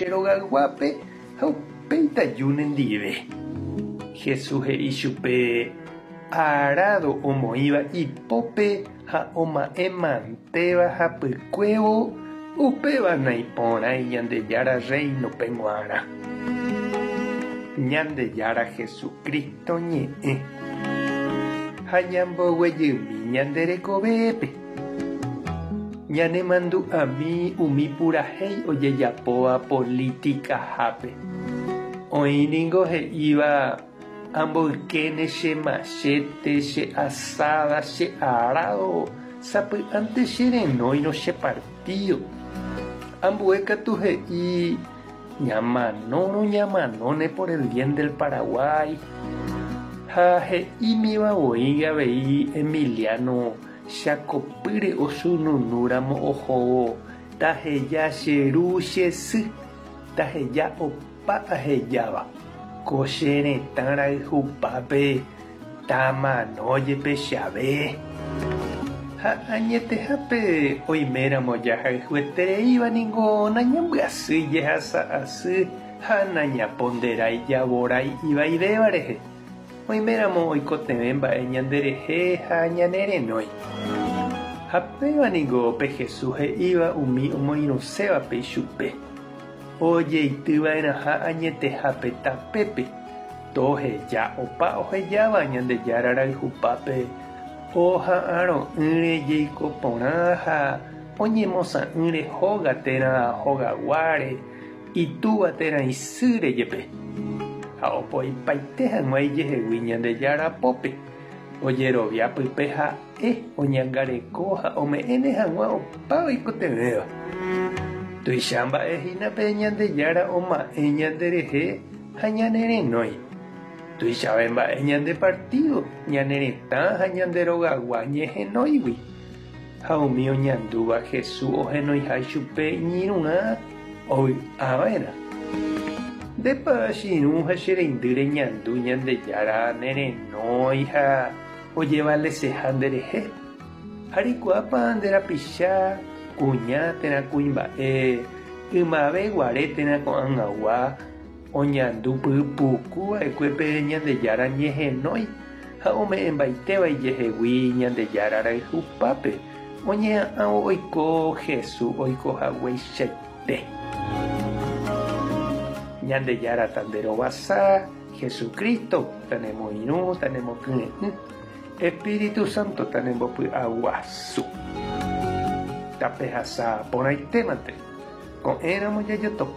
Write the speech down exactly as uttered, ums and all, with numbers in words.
Che rogayguápe ha upéi taju nendive. Jesús he'i chupe arado omoĩva ipópe ha oma'ẽmantéva hapykuévo upéva naiporãi Ñandejára reino-pe g̃uarã. Ñandejára Jesucristo ñe'ẽ ha ñamboguejymi ñande rekovépe. Ñanemandu'ami umi purahéi ojejapóva politikahápe. Oĩ ningo he'íva amboykéne che machete, che azada, che arado, sapy'ánte cherenóirõ che partido. Ambue katu he'i ñamanórõ ñamanóne por el bien del Paraguay. Ha he'ímiva voi avei Emiliano Chakopýre osununúramo ohóvo taheja che ru che sy, taheja opa ahejáva. Ko che retã rayhupápe tamano jepe chave. Ha añetehápe oiméramo jahayhuetereíva ningo nañambyasýi jehasa asy ha nañaponderái javorái ivaivéva rehe. Oiméramo oikotevẽ mba'e ñanderehe ha ñanerenói. Ha péva ningo pe Jesús he'íva umi omoirũsévape ichupe. Ojeityva'erãha añetehápe tapépe. Toheja opa ohejáva Ñandejára rayhupápe oha'arõ'ỹre jeiko porã ha oñemosã'ỹre hóga térã hogaguáre itúva térã isýre jepe. Ha opoipaite hag̃ua ijehegui Ñandejára pópe. Ojerovia pype ha'e oñangareko ha ome'ẽne hag̃ua opa oikotevẽva. Tuicha mba'e hína pe Ñandejára oma'ẽ ñanderehe ha ñanerenói. Tuichave mba'e ñande partido, ñane retã ha ñande rogagua ñehenóigui. Ha umi oñandúva Jesús ohenoiha ichupe iñirũrã ovy'ava'erã. Ndépa che irũ ha che reindy reñandu Ñandejára nerenói ha ojevaleseha nderehe. Ha reikuaápa nde rapicha kuña térã kuimba'e ymave guare térã ko'ag̃agua oñandu pypuku va'ekue pe Ñandejára ñehenói ha ome'ẽmbaitéva ijehegui Ñandejára rayhupápe oñeha'ãvo oiko Jesús oikohagueichaite. Ñandejára tanderovasa, Jesucristo tanemoirũ tanemokyre'ỹ, Espíritu Santo tanembopy'aguasu. Tapehasa porãitémante. Ko'ẽramo jajotopa.